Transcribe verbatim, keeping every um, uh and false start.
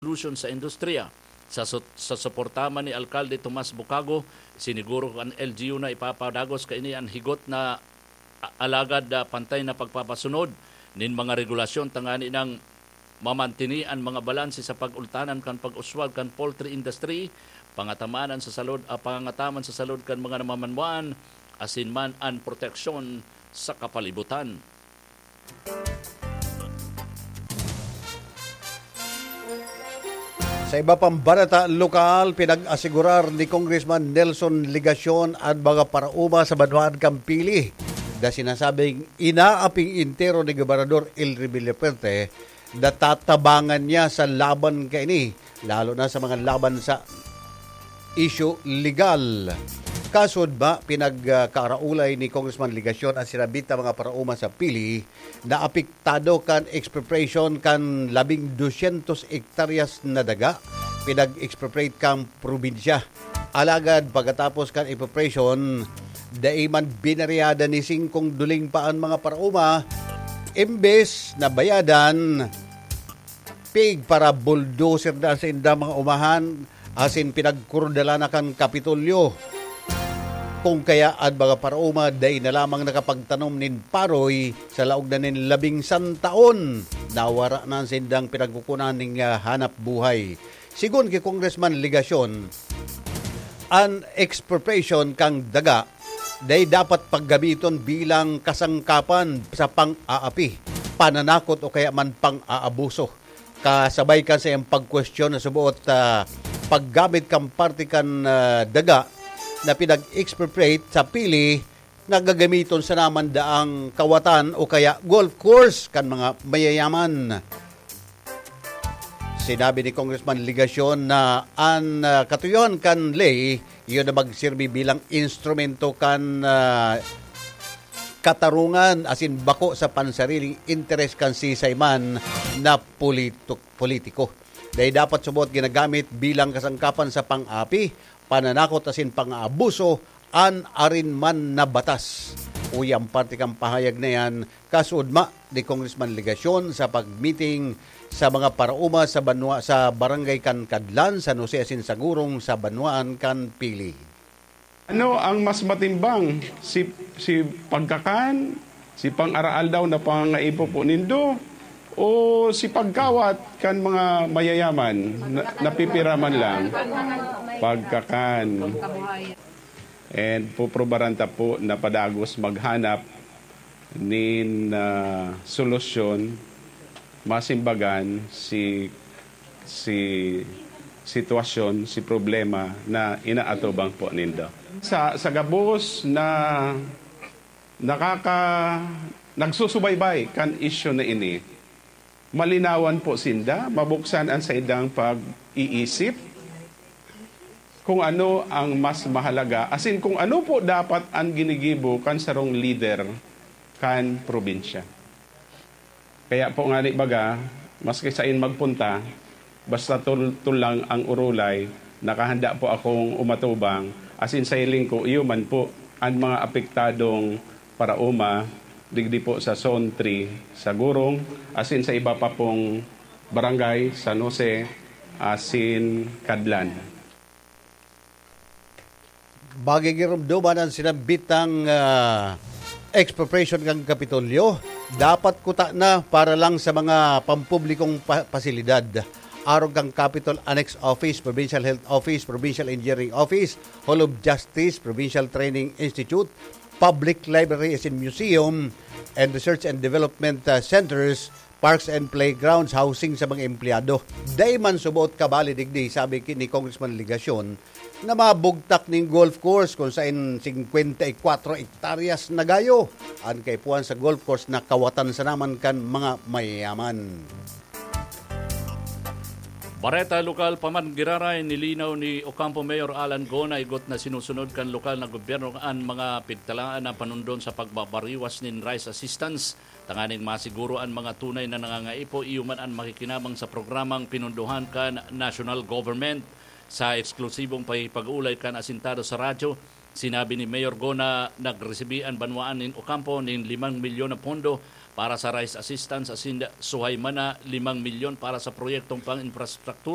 solution sa industriya. Sa su-, sa suporta man ni Alkalde Tomas Bucago, siniguro kan L G U na ipapadagos kaini an higot na a-, alagad, ah, pantay na pagpapasunod nin mga regulasyon tangani nang mamantini an mga balanse sa pag-ultanan kan pag-uswag kan poultry industry, pangatamaan sa salud, ah, pangataman sa salud kan mga namamanwaan, asin man an proteksyon sa kapalibutan. Sa iba pang bareta lokal, pinag-asigurar ni Congressman Nelson Legacion an mga paraoma sa banwaan kan Pili na sinasabing inaaping entero ni Gobernador Elry Villafuerte na tatabangan niya sa laban kaini, lalo na sa mga laban sa isyu legal. Kasod ba, pinagkaraulay ni Congressman Legacion an sinabit na mga paraoma sa Pili na apektado kan expropriation kan labing dosyentos hektaryas na daga pinag-expropriate kan probinsya. Alagad pagkatapos kan expropriation, dai man binariyada ni singkong duling pa an mga paraoma, imbes na bayadan, pig para bulldozer na sa indang mga umahan, asin pinagkurdalan na kan Kapitolyo. Kung kaya an mga paraoma dai na lamang nakapagtanom nin paroy sa laog na nin labing san taon, nawara na an sindang pinagkukunan ning, ah, hanap buhay. Sigon ki Congressman Legacion, an expropriation kan daga dai dapat paggamiton bilang kasangkapan sa pang-aapi, pananakot o kaya man pang-aabuso. Kasabay kan saiyang pagkwestiyon na suboot, ah, paggamit kan parte kan, ah, daga na pinag-expropriate sa Pili na gagamiton sana man daang kawatan o kaya golf course kan mga mayayaman. Sinabi ni Congressman Legacion na an, ah, katuyohan kan ley iyo na magsirbi bilang instrumento kan, ah, katarungan asin bako sa pansariling interes kan sisay man na polito-, politiko. Dai dapat subot ginagamit bilang kasangkapan sa pang-api, pananakot asin pang-aabuso an arin man na batas. Uya an parte kan pahayag na iyan, kasuodma ni Congressman Legacion sa pagmiting sa mga paraoma sa banwa, sa barangay kan Cadlan, San Jose asin sa gurong sa banwaan kan Pili. Ano ang mas matimbang? Si, si pagkakan, si pang-araal daw na pangangaipo po nindo, o si pagkawat kan mga mayayaman na, napipira man lang? Pagkakan. And puprobaran ta po na padagos maghanap nin, ah, solusyon, masimbagan si, si sitwasyon, si problema na inaatubang po nindo. Sa, sa gabos na nakaka-, nagsusubaybay kan isyu na ini, malinawan po sinda, mabuksan an saindang pag-iisip kung ano ang mas mahalaga, asin kung ano po dapat an ginigibo kan sarong lider kan probinsya. Kaya po ngani baga, maski sain magpunta, basta tul-, tulang ang urulay, nakahanda po akong umatubang, asin sa hiling ko, iyo man po an mga apektadong paraoma, digdi po sa Zone three, sa Gurong, asin sa iba pa pong barangay, San Jose, asin Cadlan. Magigiromdoman an sinambitang, ah, expropriation kan Kapitolyo. Dapat kuta na para lang sa mga pampublikong pa-, pasilidad. Arog kan Capitol Annex Office, Provincial Health Office, Provincial Engineering Office, Hall of Justice, Provincial Training Institute, Public Library asin Museum, and Research and Development, ah, Centers, parks and playgrounds, housing sa mga empleyado. Dai man suboot kabali digdi, sabi ki-, ni Congressman Legacion, na mabugtak ning golf course kung sain singkwenta y kwatro hektaryas na gayo an kaipuhan sa golf course na kawatan sana man kan mga mayayaman. Bareta lokal pa man giraray, nilinaw ni Ocampo Mayor Alan Go na igot na sinusunod kan lokal na gobyerno an mga pigtalaan na panundon sa pagbabariwas nin rice assistance tanganing masiguro an mga tunay na nangangaipo, iyo man an makikinabang sa programang pinundohan kan national government. Sa eksklusibong pakikipag-ulay kan Asintado sa Radyo, sinabi ni Mayor Go na nagresibi an banwaan nin Ocampo nin limang milyon na pondo para sa rice assistance asin suhay man na limang milyon para sa proyektong pang-infrastruktura.